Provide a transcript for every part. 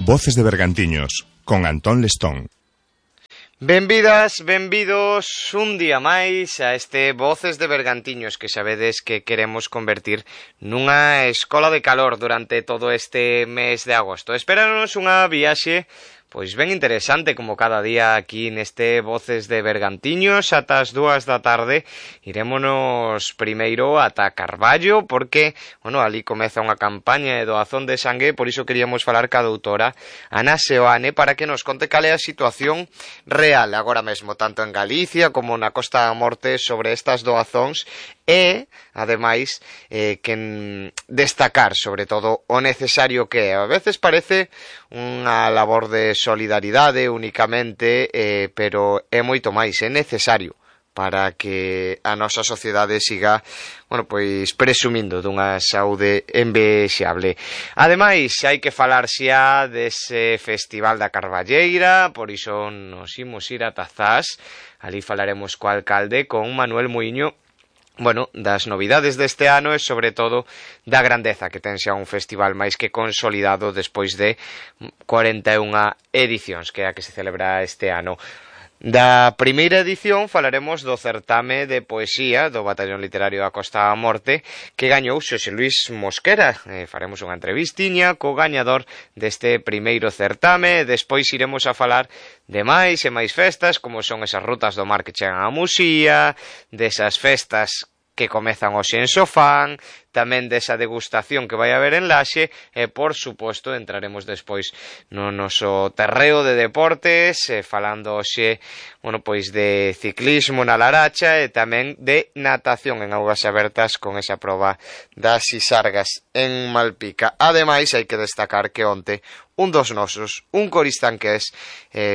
Voces de Bergantiños, con Antón Lestón. Benvidas, benvidos un día máis a este Voces de Bergantiños que sabedes que queremos convertir nunha escola de calor durante todo este mes de agosto. Espéranos unha viaxe pois ben interesante como cada día aquí neste Voces de Bergantiños ata as 2 da tarde. Irémonos primeiro ata Carballo porque, ali comeza unha campaña de doazón de sangue, por iso queríamos falar ca doutora Ana Seoane para que nos conte cal é a situación real agora mesmo, tanto en Galicia como na Costa da Morte sobre estas doazóns e, ademais, que destacar sobre todo o necesario que é. A veces parece unha labor de solidaridade únicamente, pero é moito máis, é necesario para que a nosa sociedade siga, pois presumindo dunha saúde envexable. Ademais, hai que falar xa dese Festival da Carballeira, por iso nos imos ir a Tazás. Ali falaremos co alcalde, con Manuel Muiño, das novidades deste ano e sobre todo da grandeza que ten xa un festival máis que consolidado despois de 41 edicións que é a que se celebra este ano. Da primeira edición falaremos do certame de poesía do Batallón Literario da Costa da Morte que gañou Xosé Luis Mosquera. Faremos unha entrevistiña co gañador deste primeiro certame e despois iremos a falar de máis e máis festas como son esas rutas do mar que chegan a Muxía, desas festas que comezan hoxe en Sofán, tamén desa degustación que vai haber en Laxe e, por suposto, entraremos despois no noso terreo de deportes, falando hoxe, de ciclismo na Laracha e tamén de natación en augas abertas con esa proba das Sisargas en Malpica. Ademais, hai que destacar que onte un dos nosos, un coristanqués,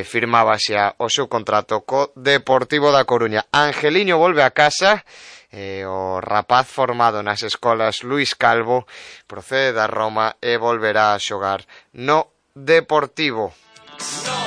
firmaba xa o seu contrato co Deportivo da Coruña. Angeliño volve a casa. O rapaz formado nas escolas Luís Calvo procede da Roma e volverá a xogar no Deportivo. No.